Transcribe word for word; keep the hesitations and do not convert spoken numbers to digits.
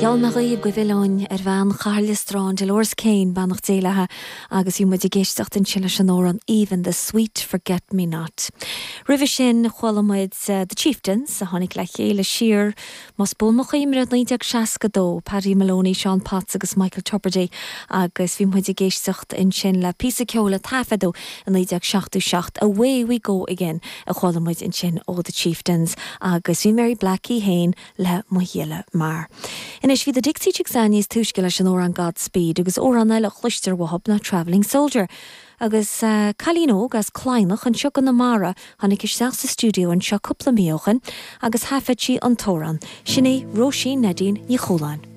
Gheall mé dhaoibh go bhfillfinn ar bhean Chathair Liostráin Dolores Kane beannacht Dé léithi agus bhí muid ag éisteacht ansin leis an amhrán Even the Sweet Forget Me Not. Roimhe sin chuala muid uh, The Chieftains a tháinig le chéile siar más buan mo chuimhne naoi déag seasca dó Paddy Moloney, Sean Potts agus Michael Tubridy agus bhí muid ag éisteacht ansin le píosa ceoil a taifeadadh i naoi déag seachtó seacht Away We Go Again a chuala muid ansin ó The Chieftains agus bhí Mary Black í féin le Mo Ghile Mear. Anois bhí The Dixie Chicks níos túisce leis an amhrán Godspeed agus amhrán eile chloistear uathu ná Travelling Soldier. Agus uh, cailín óg as Cladhnach anseo i gConamara tháinig isteach sa stiúideo anseo cúpla mí ó shin agus thaifead sí an t-amhrán, sin é Róisín Neidín Ní Chualáin.